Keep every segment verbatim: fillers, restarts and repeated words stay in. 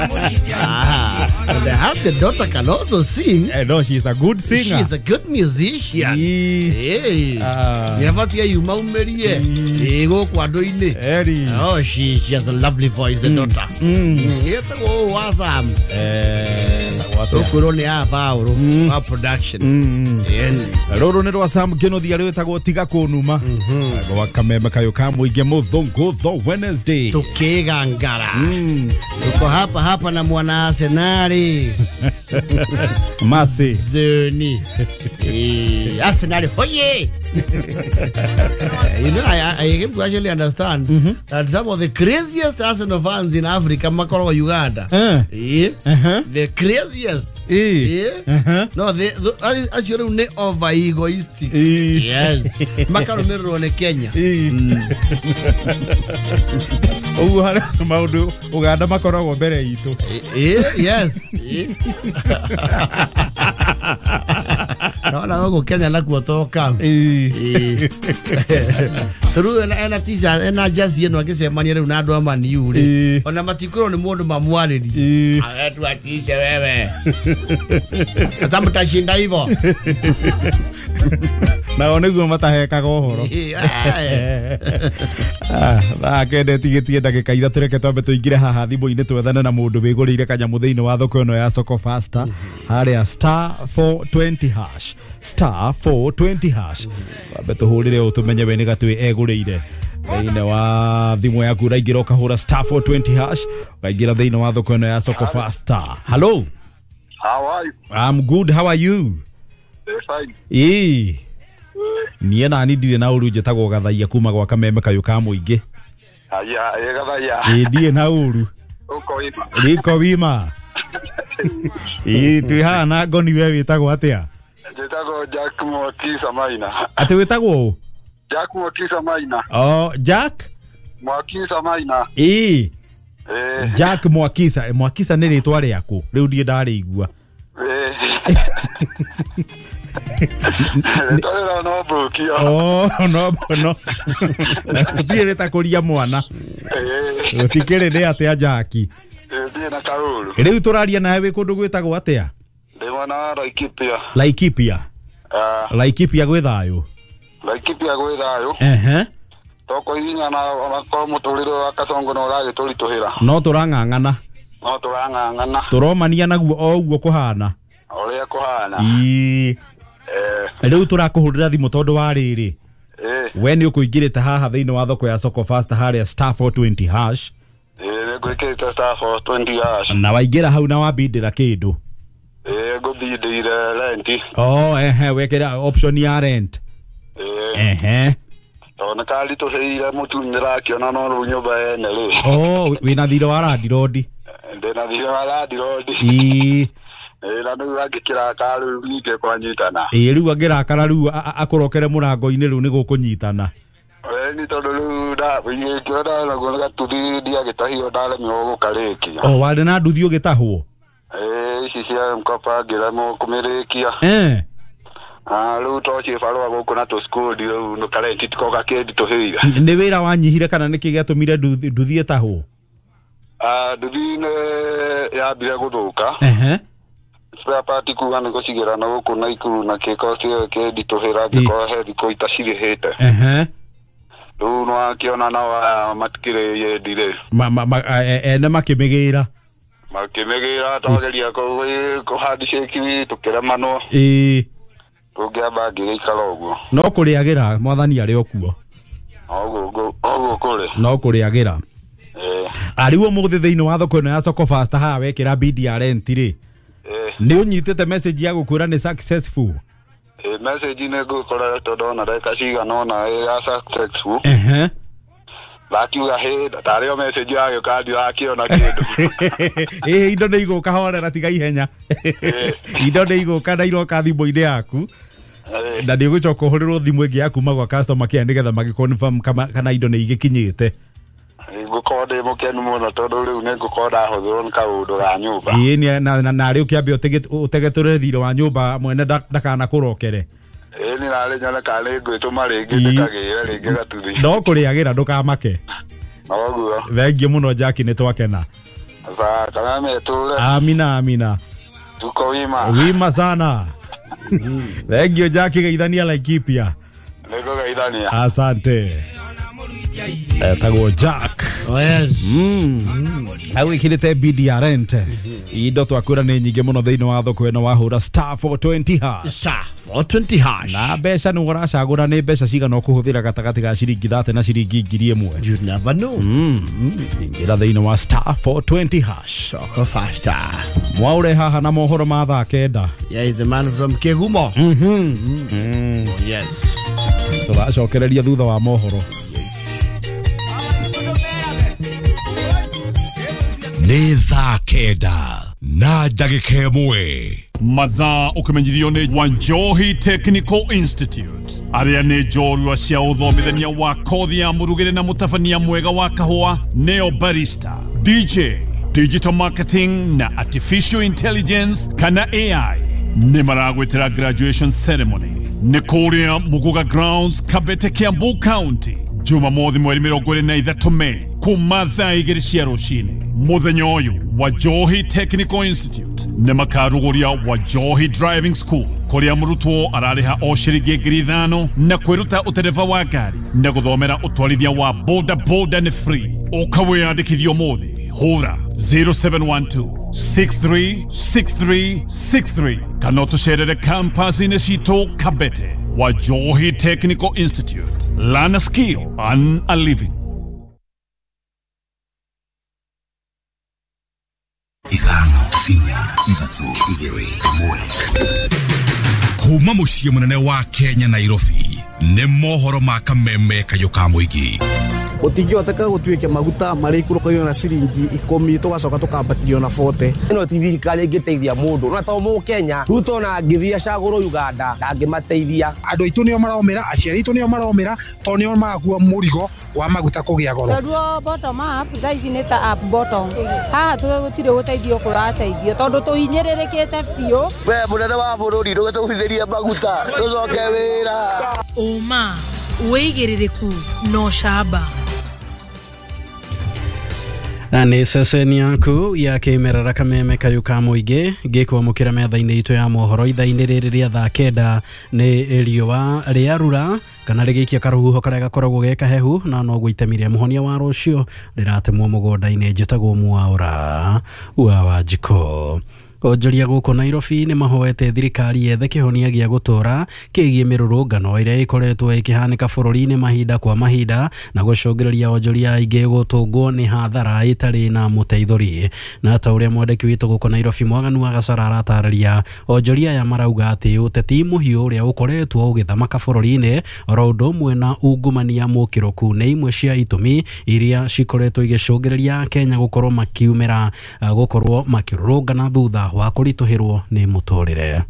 Ah, and I have the daughter can also sing. Eh, no, she is a good singer. She is a good musician. Hey. Ah. Never you maumerie. Ego kwadoine. Oh, she she has a lovely voice, the mm. daughter. Mm. Mm. Awesome. Eh, Ukuro ni avauro wa production. Roro ni rwa Sam Kenothi ari wetagwo tiga kunuma. Gwa kameme kayo ka muinge muthungu the Wednesday. Tukigangara. Tuko hapa hapa na mwana Arsenali. Masi. Zeni. Eh, Arsenali hoye. You know, I, I came to actually understand mm-hmm. that some of the craziest Arsenal fans in Africa, Makoro, Uganda. Uh. Yeah. Uh-huh. The craziest. Yeah. Yeah. Uh-huh. No, they, the, actually, over egoistic. Yeah. Yes. Makaro Mero ne Kenya. Oh, maundu Uganda makoragwo mbere itu. Yeah, yes. No, no, go Kenya nakuo toka. Turu ena tisa ena jazz yenu agicemania riu na andu a Man U ri. Ona matikwirwo ni mundu mamwarĩrie. Awetu atishe wewe. Hata mtashinda hivyo. Nao niguo matahekaga ũhoro. Ah, thaa kenda ĩtigĩtie ndagĩka ithatũ, reke twambe tũingĩre haha thimũ-inĩ twethane na mũndũ wĩgũrĩire kanyamũ thĩinĩ wa thoko ĩno ya Soko Faster harĩa star four twenty hash star four twenty hash. Twambe tũhũrĩre ũũ tũmenye we nĩ gatwĩ egũrĩire thĩinĩ wa thimũ yaku. Ũraingĩra ũkahũra star four twenty hash ũkaingĩra thĩinĩ wa thoko ĩno ya Soko Faster. Hello. How are you? I'm good. How are you? Fine. Ĩĩ. Niĩ nani ndirĩ na ũru, njĩtagwo Gathaia kuma gwa kameme kayũ ka mũingĩ. Aya, ĩ Gathaia. Ĩ ndirĩ na ũru. Uko wima. Niko wima. Ĩ twĩ haha na ngoni, we wĩtagwo atĩa? Njĩtagwo Jack Mwakisa Maina. Atĩ wĩtagwo ũ? Jack Mwakisa Maina. Oh, Jack Mwakisa Maina. Ĩ. Eh. Jack Mwakisa, Mwakisa nĩ rĩtwa rĩaku. Rĩu ndiĩ ndarĩigua. Eh. Rĩtwa no mbũkio. Oh, no no. Gũtirĩ rĩtakũria mwana. Gũtikĩrĩ nĩ atĩa Jackie? Ndirĩ na kaũru. Rĩu tũraria nawe wĩ kũndũ gwĩtagwo atĩa? Ndĩ mwena wa Laikipia. Laikipia. Ah. Laikipia gwĩ thayũ. Laikipia gwĩ thayũ. Ehe. Toko hinya na onakorwo mũtũrĩre wa Kasongo no ũragĩtũritũhĩra. No tũrang'ang'ana. No tũrang'ang'ana. Tũromania naguo o ũguo kũhana. Ũrĩa kũhana. Ĩĩ. Eh. Rĩu tũrakũhũrĩra thimũ tondũ wa rĩrĩ. Eh. We nĩ ũkũingĩrĩte haha thĩinĩ wa thoko ya Soko Faster harĩa star four twenty hash. Eh, nĩngwĩkĩrĩte star four twenty hash. Na waingĩra hau na wambindĩra kĩndũ. Eh, ngũbindĩire rent. Oh, ehe, wekĩra option ya rent. Eh. Ehe. Tondũ nĩkaritũhĩire mũtu nĩrakĩona no rĩu nyũmba ene rĩ. Oh, wĩna thirĩ wa landlord. Ndĩna thirĩ wa landlord. Ĩĩ. Ĩĩ, na rĩu angĩkĩrakara rĩu ningĩ kwanyitana. Ĩĩ, rĩu angĩrakara rĩu akũrokere mũrango-inĩ rĩu nĩ gũkũnyitana. Ĩĩ, tondũ rĩu ngĩona naguo nĩ gatuthi ndiagĩtahirwo ndaremirwo gũkarĩkia. Oh, warĩ na nduthi ũgĩtahwo? Ĩĩ, ici cia M-Kopa ngĩremwo kũmĩrĩkia. Eh. Ah, rĩu to cibarũa gũkũ na tũcukũndi rĩu karenti tiko gakĩnditũhĩire. Nĩ wĩra wanyihire kana nĩkĩ gĩatũmire nduthi ĩtahwo? Ah, nduthi nĩ yambire gũthũka. Ehe. Spare part kuga nĩ gũcigĩra na gũkũ Naikuru na kĩko kĩnditũhĩra ngĩkorwo he thikũ itacirĩhĩte. Ehe. Rĩu nĩwakĩona nao matikĩrĩ yendi rĩ. Ene makĩmĩgĩra. Makĩmĩgĩra twageria kũ handshake tũkĩremanwo. Ĩĩ. Tũngĩamba ngĩgĩikara ũguo. No kũrĩagĩra mwathani arĩ o kuo. Ũguo ũguo kũrĩ. No kũrĩagĩra. Ĩĩ. Arĩu ũmũthĩ thĩinĩ wa thoko ĩno ya Soko Faster haha wekĩra bid ya rent rĩ. Nĩ ũnyitĩte message ya gũkwĩra nĩ successful? Ĩĩ, message nĩ ngũkoretwo ndona ndagĩka cigana ũna ya successful. Ehe. Ndakiuga hĩ tarĩ o message yagĩũka ndirakĩona kĩndũ. Ĩĩ, indo nĩ igũka, horera tiga ihenya. Indo nĩ igũka na iroka thimũ-inĩ yaku. Na nĩ ũgũcoka ũhũrĩrwo thimũ ĩngĩ ya kuma gwa customer care nĩgetha magĩ-confirm kana indo nĩ igĩkinyĩte. Ngũkorwo ndĩ mũkenu mũno tondũ rĩu nĩ ngũkorwo ndahũthĩrwo nĩ kaũndũ ga nyũmba. Ĩĩ, na narĩ ũkĩambe ũtegetũre thirĩ wa nyũmba mwene ndakanakũrokere. Ĩĩ, nĩ narĩ nyone kana nĩ ngwĩtũma rĩngĩ ndĩkagĩre rĩngĩ gatuthi. No kũrĩagĩra ndũkamake. Noguo. Thengiũ mũno Jackie, nĩ twakena. Za kameme tule. Amina amina. Tuko wima. Wima sana. Thank you Jackie geithania Laikipia. Niko geithania. Asante. Etagwo Jack. Oh yes. Mm. Au ikirite B D R rent. Indo twakwira nĩ nyingĩ mũno thĩinĩ wa thoko ĩno wahũra star four twenty hash. Star four twenty hash. Na mbeca nĩ ũracagũra nĩ mbeca cigana ũkũhũthĩra gatagatĩ ga ciringi thate na ciringi ngiri ĩmwe. You never know. Mm. Ingĩra thĩinĩ wa star four twenty hash. Soko faster. Mwaure haha na mohoro ma thaa kenda. Yeah, he's a man from Kegumo. Mhm. Mm. Oh, yes. Tũracokereria thutha wa mohoro. Nĩ thaa kenda na ndagĩka ĩmwe. Mathaa ũkĩmenyithio nĩ Wanjohi Technical Institute, arĩa nĩ njorua cia ũthomithania wa kothi ya mũrugĩre na mũtabania mwega wa kahũa, neo barista, D J, digital marketing na artificial intelligence kana A I. Nĩ maragwĩtĩra graduation ceremony nĩ kũrĩa Muguga Grounds, Kabete, Kiambu County, Jumamothi mweri mĩrongo ĩrĩ na ithatũ Mei kuma thaa igĩrĩ cia rũcinĩ. Mũthenya ũyũ Wajohi Technical Institute nĩ makarugũria Wajohi Driving School, kũrĩa mũrutwo ararĩha o ciringi ngiri ithano na kwĩruta ũtereba wa ngari na gũthomera ũtwarithia wa boda boda nĩ free. Ũka wĩyandĩkithie ũmũthĩ, hũra zero seven one two six three six three six three kana ũtũcerere campus-inĩ citũ Kabete. Wajohi Technical Institute, learn a skill, earn a living. Ithano, inya, ithatũ, igĩrĩ, ĩmwe. Kuma mũciĩ mũnene wa Kenya, Nairobi, nĩ mohoro ma kameme kayũ ka mũingĩ. Gũtingĩhoteka gũtuĩke maguta marĩikũrũkagio na ciringi ikũmi tũgacoka tũkambatĩrio na bote. Ĩno ti thirikari ĩngĩteithia mũndũ na to mũkenya. Ruto ona angĩthiĩ acagũrwo Uganda ndangĩmateithia. Andũ aitũ nĩo maromĩra, aciari aitũ nĩo maromĩra, tondũ nĩo marakua mũrigo wa maguta kũgĩa goro. Tondũ bottom up thaa ici nĩ ta up bottom, haha gũtirĩ gũteithio kũrateithio tondũ tũhinyĩrĩrĩkĩte biũ. We mũnene wa bũrũri, ndũgĩtũgũithĩrie maguta tũcoke wĩra. Ũma, wĩigĩrĩrĩku na ũcamba. Na nĩ ceceni yaku ya kĩmerera kameme kayũ ka mũingĩ ngĩkwamũkĩra metha-inĩ itũ ya mohoro ithaa-inĩ rĩrĩ rĩa thaa kenda. Nĩ riũa rĩarura kana rĩgĩikia karũhuho karĩa gakoragwo ge kahehu na noguo itemi rĩa mũhonia wa rũciũ rĩratemwo mũgũnda-inĩ. Njĩtagwo Mwaũra wa Wanjikũ. Onjoria gũkũ Nairobi nĩ mahoete thirikari yethe kĩhonia gĩa gũtũra kĩgiĩ mĩrũrũngano ĩrĩa ĩkoretwo ĩkĩhanĩka bũrũri-inĩ mahinda kwa mahinda na gũcũngĩrĩria onjoria aingĩ gũtũngwo nĩ hathara ĩtarĩ na mũteithũri. Na ta ũrĩa mwandĩki witũ gũkũ Nairobi Mwaganu wa Gacara aratarĩria, onjoria aya marauga atĩ ũteti mũhiũ ũrĩa ũkoretwo ũgĩthamaka bũrũri-inĩ oro ũndũ ũmwe na ungumania mũkĩrũku nĩ imwe cia itũmi iria cikoretwo igĩcũngĩrĩria Kenya gũkorwo makiumĩra gũkorwo makĩrũrũngana thutha wa kũritũhĩrwo nĩ mũtũrĩre.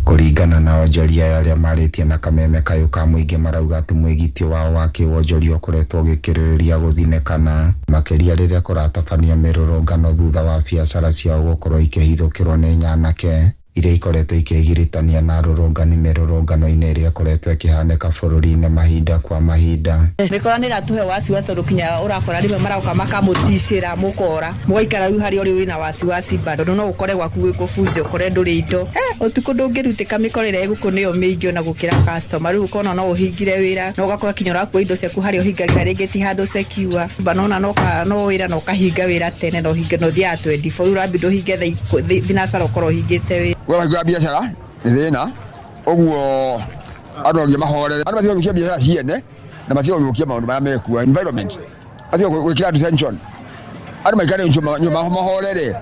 Kũringana na onjoria arĩa marĩtie na kameme kayũ ka mũingĩ, marauga atĩ mwĩgitio wao wa kĩwonjoria ũkoretwo ũgĩkĩrĩrĩria gũthinĩkana makĩria rĩrĩa kũratabanio mĩrũrũngano thutha wa biacara ciao gũkorwo ikĩhithũkĩrwo nĩ nyanake iria ikoretwo ikĩgiritania na arũrũngani mĩrũrũngano-inĩ ĩrĩa ĩkoretwo ĩkĩhanĩka bũrũri-inĩ mahinda kwa mahinda. Mĩkora nĩ ĩratũhe wasiwasi tondũ kinya ũrakora rĩmwe maroka makamũticĩra mũkora mũgaikara rĩu harĩa ũrĩ wĩna wasiwasi bado no ũkore gwaku gwĩ kũbunja ũkore ndũrĩ indo. Ũtukũ ndũngĩrutĩka, mĩkora ĩrĩa ĩgũkũ nĩyo mĩingĩ ona gũkĩra customer. Rĩu ũkona no ũhingire wĩra na ũgakora kinya ũrakua indo ciaku harĩa ũhingagĩra rĩngĩ ti handũ secure banona no no wĩra na ũkahinga wĩra tene na ũhinge na ũthiaga twenty-four, rĩu ũrambindwo ũhinge thaa thinacara ũkorwo ũhingĩte wĩra. Wahingũra biacara nĩ thĩna ũguo andũ angĩ mahorere, andũ matige gũthũkia biacara ciene na matige gũthũkia maũndũ marĩa mekuo environment, matige gwĩkĩra andũ tension, andũ maikare nyũmba mahorere,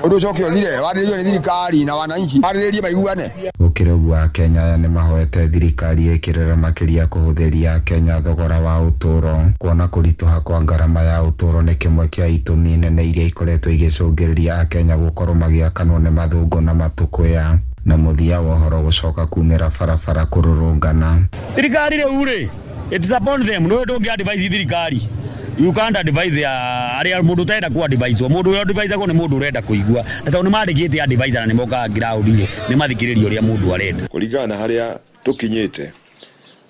ũndũ ũcoke ũthire warĩrĩrio nĩ thirikari na wananchi warĩrĩrie maiguane. Gũkĩrĩ ũguo, Akenya aya nĩ mahoete thirikari ĩkĩrĩre makĩria kũhũthĩria Akenya thogora wa ũtũũro, kuona kũritũha kwa ngarama ya ũtũũro nĩ kĩmwe kĩa itũmi nene iria ikoretwo igĩcũngĩrĩria Akenya gũkorwo magĩakanwo nĩ mathũngũ na matũkũya na mũthia wa ũhoro gũcoka kumĩra barabara kũrũrũngana. Thirikari rĩu rĩ, it's upon them. No ndũngĩ advise thirikari, you can't advise their arĩa mũndũ ũtarenda ku advise. Mũndũ ũrĩa advise nĩ mũndũ ũrenda kũigua, na tondũ nĩ mandĩkĩte advisor na nĩ mokaga ground rĩ, nĩ mathikĩrĩria ũrĩa mũndũ arenda. Kũringana na harĩa tũkinyĩte,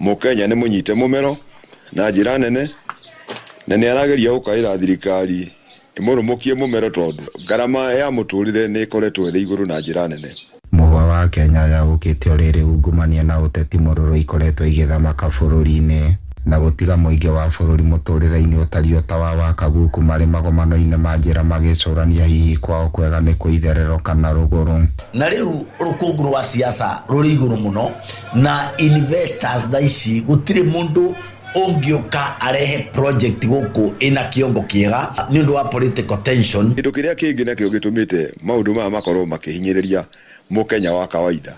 mũkenya nĩ mũnyite mũmero na njĩra nene na nĩ arageria gũkaĩra thirikari Ĩmũrũmũkie mũmero tondũ ngarama ya mũtũrĩre nĩ ĩkoretwo ĩrĩ igũrũ na njĩra nene. Mũhwa wa Kenya yaũkĩte o rĩrĩ ungumania na ũteti mũrũrũ ikoretwo igĩthamaka bũrũri-inĩ na gũtiga mũingĩ wa bũrũri mũtũrĩre-inĩ ũtariĩ ta wa Wakaguku marĩ magomano-inĩ ma njĩra magĩcũrania hihi kwao kwega nĩ kwĩ itherero kana rũgũrũ. Na rĩu rũkũngũ rwa siasa rũrĩ igũrũ mũno na investors thaa ici gũtirĩ mũndũ ũngĩũka arehe project gũkũ ĩna kĩongo kĩega nĩ ũndũ wa political tension. Kĩndũ kĩrĩa kĩngĩ nakĩo gĩtũmĩte maũndũ maya makorwo makĩhinyĩrĩria mũkenya wa kawaida,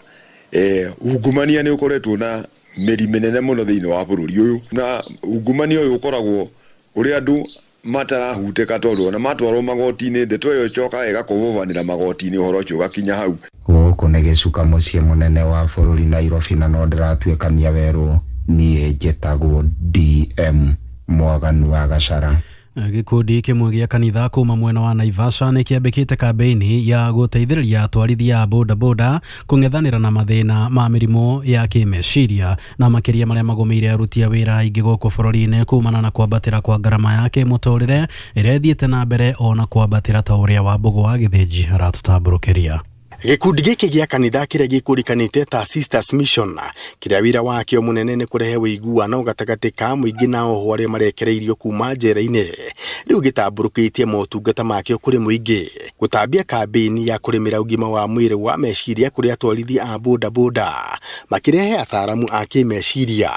eh, ungumania nĩ ũkoretwo na mĩri mĩnene mũno thĩinĩ wa bũrũri ũyũ, na ungumania ũyũ ũkoragwo ũrĩa andũ matarahutĩka tondũ ona matwarwo magoti-inĩ ndeto ĩyo ĩcokaga ĩgakũbũbanĩra magoti-inĩ ũhoro ũcio ũgakinya hau. Gũkũ nĩ gĩcuka mũciĩ mũnene wa bũrũri Nairobi na no ndĩratuĩkania werũ. Niĩ njĩtagwo D M Mwaganu wa Gachara. Gĩkundi kĩmwe gĩa kanitha kuma mwena wa Naivasha nĩ kĩambĩkĩte kambĩini ya gũteithĩrĩria atwarithia a bodaboda kũng'ethanĩra na mathĩna ma mĩrimũ ya kĩmeciria na makĩria marĩa magũmĩire aruti a wĩra aingĩ gũkũ bũrũri-inĩ kumana na kwambatĩra kwa ngarama ya kĩmũtũrĩre ĩrĩa ĩthiĩte na mbere ona kwambatĩra ta ũrĩa Wambũgũ wa Gĩthĩnji aratũtambũrũkĩria. Gĩkundi gĩkĩ gĩa kanitha kĩrĩa gĩkũrĩkanĩte ta Sisters Mission kĩrĩa wĩra wakĩo mũnene nĩ kũrehe ũiguano gatagatĩ ka mũingĩ na oho arĩa marekereirio kuma njera-inĩ rĩu gĩtambũrũkĩtie motungata makĩo kũrĩ mũingĩ gũtambia kambĩini ya kũrĩmĩra ũgima wa mwĩrĩ wa meciria kũrĩ atwarithia a bodaboda makĩrehe ataaramu a kĩmeciria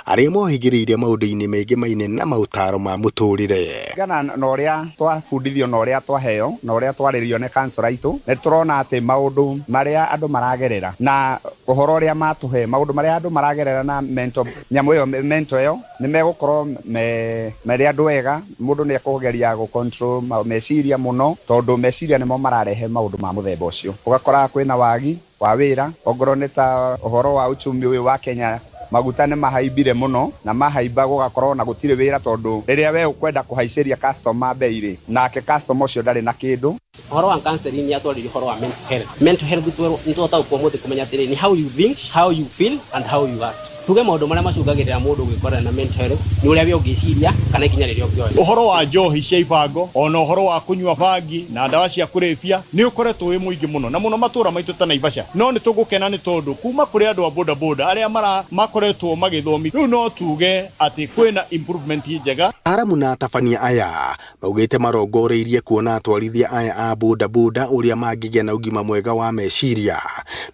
arĩa mohĩgĩrĩire maũndũ-inĩ maingĩ maine na maũtaro ma mũtũrĩre. Gana na ũrĩa twabundithio na ũrĩa twaheo na ũrĩa twarĩrio nĩ kansora itũ nĩ tũrona atĩ maũndũ maria andũ maragerera na ũhoro ũrĩa matũhe maũndũ maria andũ maragerera na mental nyamũ ĩyo mental ĩyo nĩ megũkorwo me marĩ andũ ega. Mũndũ nĩ ekũgeria gũ control meciria mũno tondũ meciria nĩmo mararehe maũndũ ma mũthemba ũcio. Ũgakora kwĩna wagi wa wĩra ongorwo nĩ ta ũhoro wa uchumi ũyũ wa Kenya maguta nĩ mahaimbire mũno na mahaimba gũgakorwo na gũtirĩ wĩra tondũ rĩrĩa we ũkwenda kũhaicĩria customer bei rĩ nake customer ũcio ndarĩ na kĩndũ. Ũhoro wa counseling nĩ atwarĩria ũhoro wa mental health. Mental health nĩ tũhotaga ũmũthĩ kũmenya atĩrĩ ni how you think, how you feel and how you act. Tuge maũndũ marĩa macũngagĩrĩra mũndũ gwĩkorana na mental health nĩ ũrĩa we ũngĩciria kana ikinya rĩrĩa ũngĩoya. Ũhoro wa njohi cia ibango ona ũhoro wa kũnyua bangi na ndawa cia kũrebia nĩ ũkoretwo wĩ mũingĩ mũno na mũno matũra maitũ ta Naivasha. No nĩ tũgũkena nĩ tondũ kuma kũrĩ andũ a bodaboda arĩa mara makoretwo magĩthomi rĩu no tuge atĩ kwĩna improvement njega. Aramu na atabania aya maugĩte marongoreirie kuona atwarithia aya a bodaboda ũrĩa mangĩgĩa na ũgima mwega wa meciria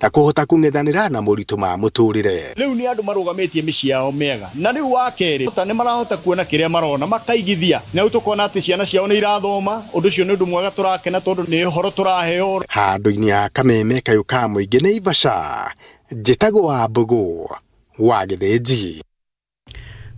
na kũhota kũng'ethanĩra na moritũ ma mũtũrĩre. Rĩu nĩ andũ marũgamĩtie mĩciĩ yao mĩega na rĩu wa kerĩ nĩ marahota kuona kĩrĩa marona makaigithia na rĩu tũkona atĩ ciana ciao nĩ irathoma. Ũndũ ũcio nĩ ũndũ mwega tũrakena tondũ nĩ ũhoro tũraheo. Handũ-inĩ ha Kameme kayũ ka mũingĩ Naivasha, njĩtagwo Wambũgũ wa Gĩthĩnji.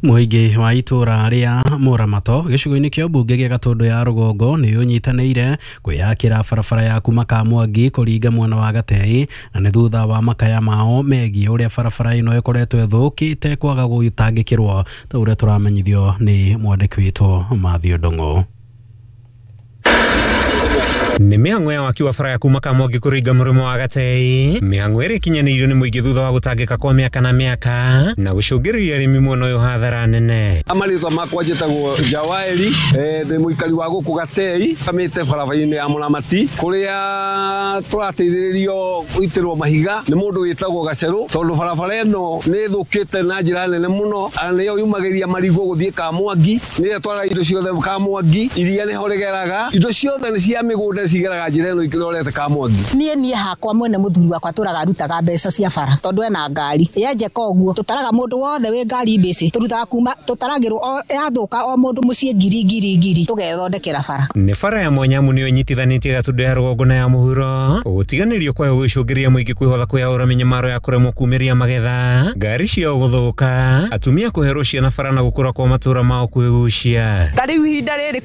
Mũingĩ wa itũra rĩa Mũramato gĩcigo-inĩ kĩa mbunge gĩa Gatũndũ ya rũgongo nĩ ũnyitanĩire kwĩyakĩra barabara ya kuma Kamwangi kũringa mwena wa Gatei na nĩ thutha wa makaya mao megiĩ ũrĩa barabara ĩno ĩkoretwo ĩthũkĩte kwaga gũtangĩkĩrwo ta ũrĩa tũramenyithio nĩ mwandĩki witũ Mathew Ndung'u. Nĩ mĩhang'o ya waki wa bara ya kuma Kamwangi kũringa mũrĩmo wa Gatei mĩhang'o ĩrĩa ĩkinyanĩirio nĩ mũingĩ thutha wa gũtangĩka kwa mĩaka na mĩaka na gũcũngĩrĩria arĩmi mwena ũyũ hathara nene. Marĩtwa makwa njĩtagwo Jawaeri, ndĩ mũikari wa gũkũ Gatei kamĩte barabara-inĩ ya Mũramati kũrĩa tũrateithĩrĩrio gũitĩrwo mahiga nĩ mũndũ wĩtagwo Gacerũ tondũ barabara ĩno nĩ ĩthũkĩte na njĩra nene mũno na nĩyo yumagĩria marigũ gũthiĩ Kamwangi, nĩyo ĩtwaraga indo ciothe Kamwangi, iria nĩho rĩgeraga, indo ciothe nĩ cia mĩgũnda cigeraga njĩra ĩno ikĩrorete Kamwangi. Niĩ niĩ hakwa mwene mũthuri wakwa tũraga arutaga mbeca cia bara tondũ ena ngari yenjeka ũguo tũtaraga mũndũ wothe wĩ ngari mbĩcĩ tũrutaga kuma tũtaragĩrwo yathũka o mũndũ mũciĩ ngiri ngiri ngiri tũgethondekera bara. Nĩ bara ya Mwanyamu nĩyo ĩnyitithanĩtie Gatũndũ ya rũgongo na ya mũhuro gũtiganĩrio kwayo gũcũngĩrĩria mũingĩ kwĩhotha kwĩyaũra mĩnyamaro ya kũremwo kumĩria magetha ngari ciao gũthũka atumia kũherwo ciana bara na gũkũra kwa matũra mao kwĩgucia. Ta rĩu ihinda rĩrĩ